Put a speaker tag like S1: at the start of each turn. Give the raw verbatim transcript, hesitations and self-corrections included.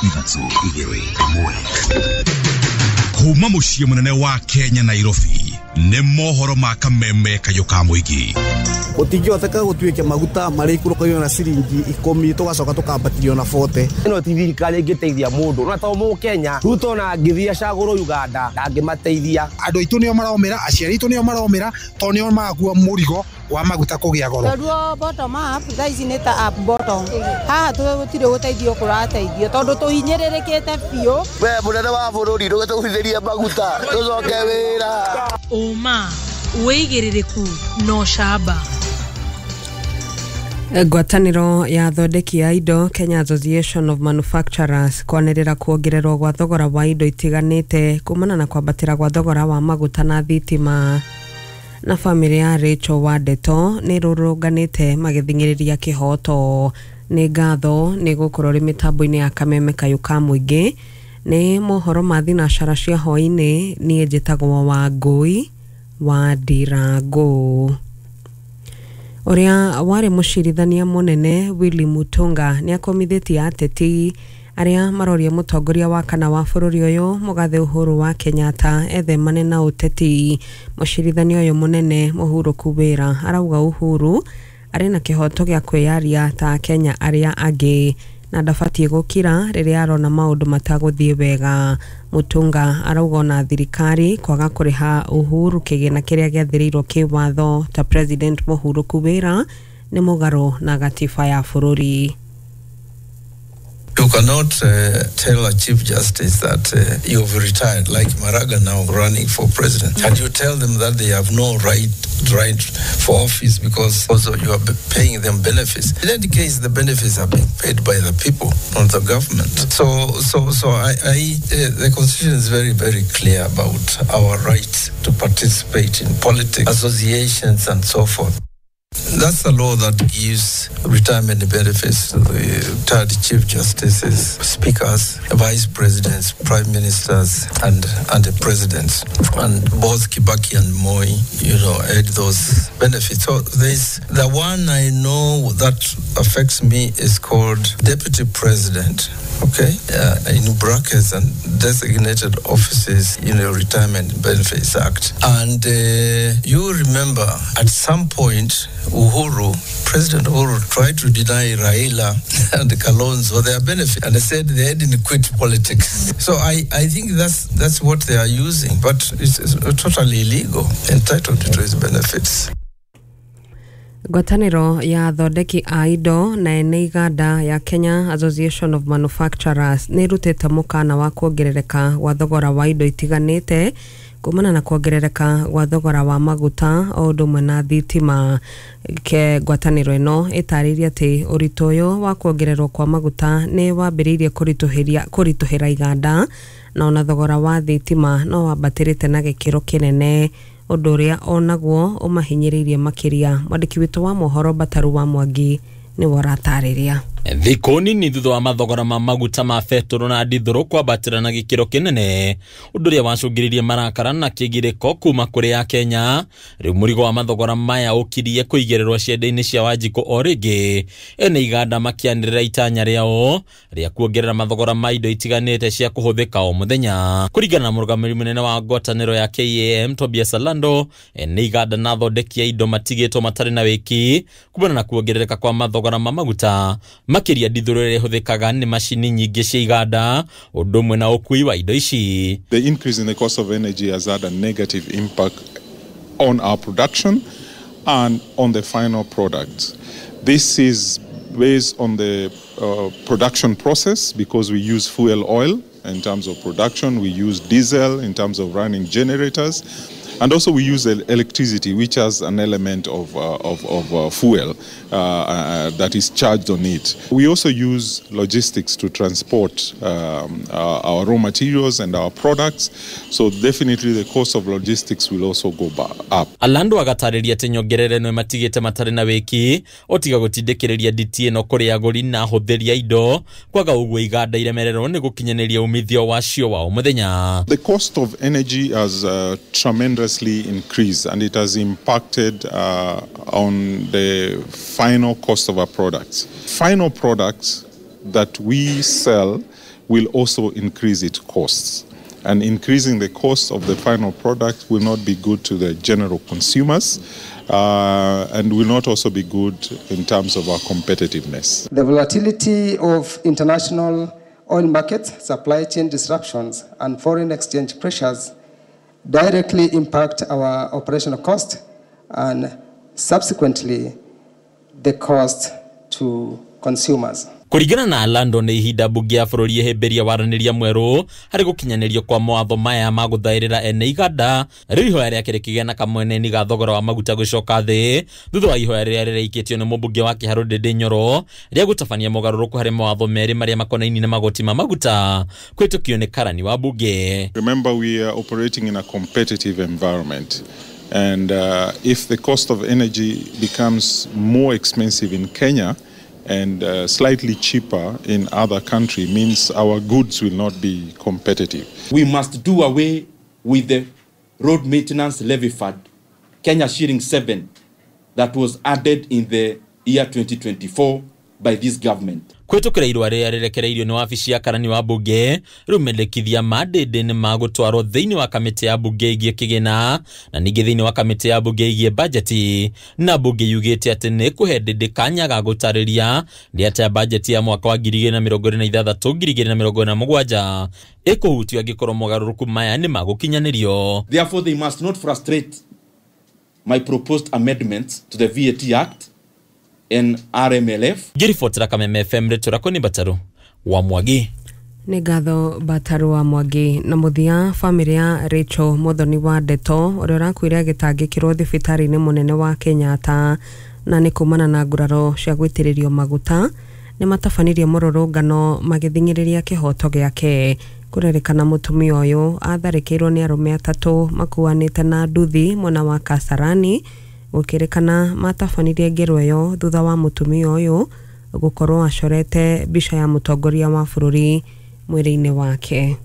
S1: Ithatũ, igĩrĩ, ĩmwe. Kuma mũciĩ mũnene wa Kenya, Nairobi, nĩ mohoro ma kameme kayũ ka mũingĩ.
S2: Gũtingĩhoteka gũtuĩke maguta marĩikũrũkagio na ciringi ikũmi, tũgacoka tũkambatĩrio na bote.
S3: Ĩno ti thirikari ĩngĩteithia mũndũ, no to Mũkenya. Ruto na angĩthiĩ acagũrwo Uganda, ndangĩmateithia.
S4: Andũ aitũ nĩo maromĩra, aciari aitũ nĩo maromĩra, tondũ nĩo marakua mũrigo wa maguta kũgĩa goro.
S5: Tondũ bottom up thaa ici nĩ ta up bottom, haha gũtirĩ gũteithio kũrateithio tondũ tũhinyĩrĩrĩkĩte biũ.
S6: We mũnene wa bũrũri, ndũgĩtũgũithĩrie maguta tũcoke wĩra.
S7: Ũma, wĩigĩrĩrĩku na ũcamba.
S8: Ngwatanĩro ya athondeki a indo, Kenya Association of Manufacturers, kwanĩrĩra kuongererwo gwa thogora wa indo itiganĩte kumana na kwambatĩra gwa thogora wa maguta na thitima. Na bamĩrĩ ya Rachel Wandeto nĩ rũrũnganĩte magĩthing'ĩrĩria kĩhoto. Nĩ ngatho nĩ gũkorwo rĩ mĩtambo-inĩ ya kameme kayũ ka mũingĩ. Nĩ mohoro ma thinacara cia hwaĩ-inĩ. Niĩ njĩtagwo Wangũi wa Ndirangũ. Ũrĩa warĩ mũcirithania mũnene Willy Mutunga nĩ akomithĩtie ateti arĩa maroria mũtongoria wa kana wa bũrũri ũyũ, mũgathe Uhuru wa Kenyatta, ethemane na ũteti. Mũcirithania ũyũ mũnene mũhurũku wĩra arauga Uhuru arĩ na kĩhoto gĩa kwĩyaria ta Akenya arĩa angĩ na ndabatiĩ gũkira rĩrĩa arona maũndũ matagũthiĩ wega. Mutunga arauga ona thirikari kwaga kũrĩha Uhuru kĩgĩna kĩrĩa gĩathĩrĩirwo kĩwatho ta president mũhurũku wĩra nĩ mũgarũ na gatiba ya bũrũri.
S9: You cannot uh, tell a chief justice that uh, you've retired, like Maraga now running for president, and you tell them that they have no right right for office because also you are paying them benefits. In any case, the benefits are being paid by the people, not the government. So, so, so I, I uh, the constitution is very, very clear about our right to participate in politics, associations, and so forth. That's the law that gives retirement benefits to the retired chief justices, speakers, vice presidents, prime ministers, and, and the presidents. And both Kibaki and Moi, you know, had those benefits. So there's the one I know that affects me is called deputy president. Okay, uh, in brackets and designated offices in the Retirement Benefits Act. And uh, you remember at some point, Uhuru, President Uhuru, tried to deny Raila and Kalonzo their benefit, and they said they hadn't quit politics. So I, I think that's that's what they are using, but it's, it's totally illegal, entitled to his benefits.
S8: Ngwatanĩro ya athondeki a indo na ene iganda ya Kenya Association of Manufacturers nĩ ĩrutĩte mũkana wa kuongerereka gwa thogora wa indo itiganĩte kumana na kuongerereka gwa thogora wa maguta o ũndũ ũmwe na thitima. Ke ngwatanĩro ĩno ĩtarĩirie atĩ ũritũ ũyũ wa kuongererwo kwa maguta nĩ wambĩrĩirie kũritũhĩria kũritũhĩra iganda, na ona thogora wa thitima no wambatĩrĩte na gĩkĩro kĩnene, ũndũ ũrĩa onaguo ũmahinyĩrĩirie makĩria. Mwandĩki witũ wa mohoro Bataru wa Mwangi nĩwe ũratarĩria.
S10: Thikũ nini thutha wa mathogora ma maguta ma betũrũ na ndithũrũ kwambatĩra na gĩkĩro kĩnene, ũndũ ũrĩa wacũngĩrĩirie marakara na kĩgirĩko kuma kũrĩ Akenya, rĩu mũrigo wa mathogora maya ũkirie kũigĩrĩrwo ciande-inĩ cia Wanjikũ o rĩngĩ, ene iganda makĩanĩrĩra itanya rĩao rĩa kuongerera mathogora ma indo itiganĩte cia kũhũthĩka o mũthenya. Kũringana na mũrũgamĩrĩri mũnene wa ngwatanĩro ya K A M Tobias Alando, ene iganda na athondeki a indo matigĩtwo matarĩ na wĩki kumana na kuongerereka kwa mathogora ma maguta, makĩria ndithũrũ ĩrĩa ĩhũthĩkaga nĩ macini nyingĩ cia iganda, ũndũ ũmwe na ũkui wa indo ici.
S11: The increase in the cost of energy has had a negative impact on our production and on the final product. This is based on the uh, production process because we use fuel oil in terms of production, we use diesel in terms of running generators, and also we use electricity, which has an element of, uh, of, of uh, fuel uh, uh, that is charged on it. We also use logistics to transport um, uh, our raw materials and our products, so definitely the cost of logistics will also go up.
S10: Alando agatarĩria atĩ nyongerera ĩno ĩmatigĩte matarĩ na wĩki otiga gũtindĩkĩrĩria nditi ĩno kũrĩ agũri na ahũthĩri a indo, kwaga ũguo iganda iremererwo nĩ gũkinyanĩria umithio wacio wa o mũthenya.
S11: The cost of energy has uh, tremendously increased, and it has impacted uh, on the final cost of our products. Final products that we sell will also increase its costs. And increasing the cost of the final product will not be good to the general consumers uh, and will not also be good in terms of our competitiveness.
S12: The volatility of international oil markets, supply chain disruptions, and foreign exchange pressures directly impact our operational cost and subsequently the cost to consumers.
S10: Kũringana na Lando nĩ ihinda mbunge ya bũrũri ĩhĩmbĩria waranĩria mwerũ harĩ gũkinyanĩrio kwa mawatho maya ma gũthaĩrĩra ene iganda. Rĩu ihoya rĩake rĩkĩgĩa na kamweneni ga thogora wa maguta gũcoka thĩ thutha wa ihoya rĩrĩa rĩraikĩtio nĩ mũmbunge wa Kĩharũ Ndĩndĩ Nyoro rĩa gũtabania mogarũrũku harĩ mawatho merĩ marĩa makonainie na magoti ma maguta kũhĩtũkio nĩ karani wa mbunge.
S11: Remember, we are operating in a competitive environment. And uh, if the cost of energy becomes more expensive in Kenya and uh, slightly cheaper in other countries, means our goods will not be competitive.
S13: We must do away with the road maintenance levy fund, Kenya shilling seven, that was added in the year twenty twenty-four by this government.
S10: Kũhĩtũkĩra irũa rĩrĩa rĩrekereirio nĩ wabici ya karani wa mbunge rĩu mendekithia ma Ndĩndĩ nĩ magũtwarwo thĩinĩ wa kamĩtĩ ya mbunge ĩgiĩ kĩgĩna na ningĩ thĩinĩ wa kamĩtĩ ya mbunge ĩgiĩ bajeti na mbunge yugĩte atĩ nĩ kũhe Ndĩndĩ kanya ga gũtarĩria nĩ atĩa bajeti ya mwaka wa ngiri igĩrĩ na mĩrongo ĩrĩ na ithathatũ ngiri igĩrĩ na mĩrongo ĩrĩ na mũgwanja ĩkũhutio angĩkorwo mogarũrũku maya nĩ magũkinyanĩrio.
S13: Therefore they must not frustrate my proposed amendments to the V A T Act and R M L F.
S10: Ngĩribotera Kameme F M rĩtwa rĩakwa nĩ Bataru wa Mwangi.
S8: Nĩ ngatho Bataru wa Mwangi. Na mũthia, bamĩrĩ ya Rachel Muthoni wa Ndeto ũrĩa ũrakuire agĩtangĩkĩrwo thibitarĩ-inĩ mũnene wa Kenyatta na nĩ kumana na nguraro cia gũitĩrĩrio maguta nĩ matabanirie mũrũrũngano magĩthing'ĩrĩria kĩhoto gĩake. Kũrerĩkana mũtumia ũyũ atharĩkĩirwo nĩ arũme atatũ makuanĩte na nduthi mwena wa Kasarani gũkĩrĩkana matabanirie ngero ĩyo thutha wa mũtumia ũyũ gũkorwo acorete mbica ya mũtongoria wa bũrũri mwĩrĩ-inĩ wake.